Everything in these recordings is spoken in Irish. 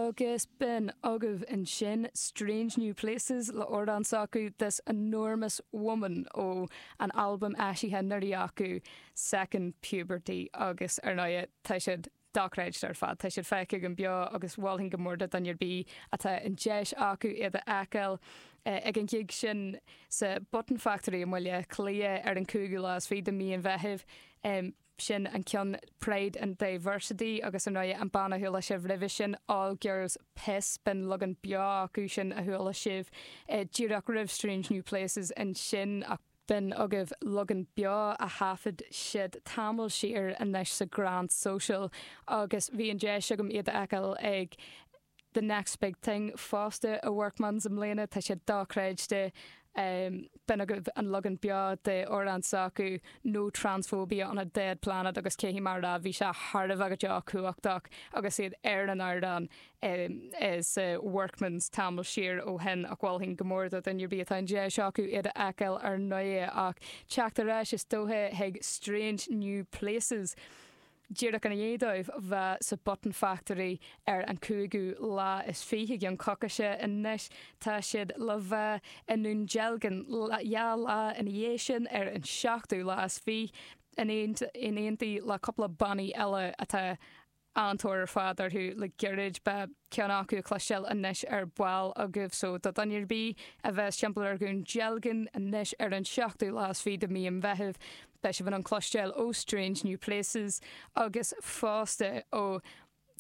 Agus b'in agaibh ansin Strange New Places le amhrán s'acu This Enormous Woman ó an albam eisithe anuraidh acu Second Puberty agus ar ndóigh tá siad dochreidte ar fad. Tá siad feicthe agam beo agus mholfainn go mór do dhuine ar bith atá an deis acu iad a fheiceáil ag an ghig sin sa Button Factory i mBaile Átha Cliath ar an cúigiú lá is fiche de mhí an Mheithimh. Sin an ceann Pride and Diversity agus ar ndóigh an banna a chuala sibh roimhe sin All Girls Piss, b'in leagan beo acu sin a chuala sibh díreach roimh Strange New Places ansin ach b'in agaibh leagan beo a thaifead siad tamall siar anois sa Grand Social agus bhí an deis agam iad a fheiceáil ag The Next Big Thing fosta i Workman's i mbliana. Tá sé dochreidte. B'in agaibh an leagan beo de amhrán s'acu, No Transphobia on a Dead Planet agus caithfidh mé a rá bhí sé thar a bheith go deo cumhachtach agus iad ar an ardán sa Workman's tamall siar ó shin ach mholfainn go mór do dhuine ar bith atá an deis acu iad a fheiceáil ar ndóigh ach teacht ar ais is dócha chuig Strange New Places. Díreach ina dhiaidh dóibh bheith sa Button Factory ar an cúigiú lá is fiche, i gceann coicíse anois, tá siad le bheith i nDún Dealgan dhá lá ina dhiaidh sin, ar an seachtú lá is fiche, in éindí le cúpla bannaí eile atá an-tóir ar fad orthu le gairid. Beidh ceann acu le cloisteáil anois ar ball agaibh so do dhuine ar bith a bheas timpeall ar Dhún Dealgan anois ar an seachtú lá is fiche de mhí an Mheithimh beidh sibh in ann cloisteáil ó Strange New Places agus fosta ó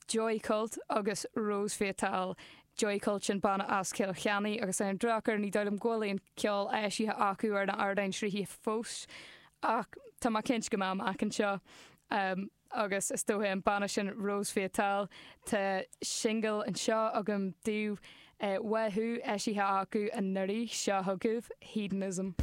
Joy Cult agus Rose Fatale. Joy Cult sin banna as Cill Chainnigh agus ar an drochuair ní dóigh liom go bhfuil aon cheol eisithe acu ar na hardáin sruthaithe fós ach tá mé cinnte go mbeidh amach anseo. Agus is dóiche an banna sin Rose Fatale, tá singil anseo agam daoibh uathu, eisithe acu anuraidh, seo chugaibh Hedonism.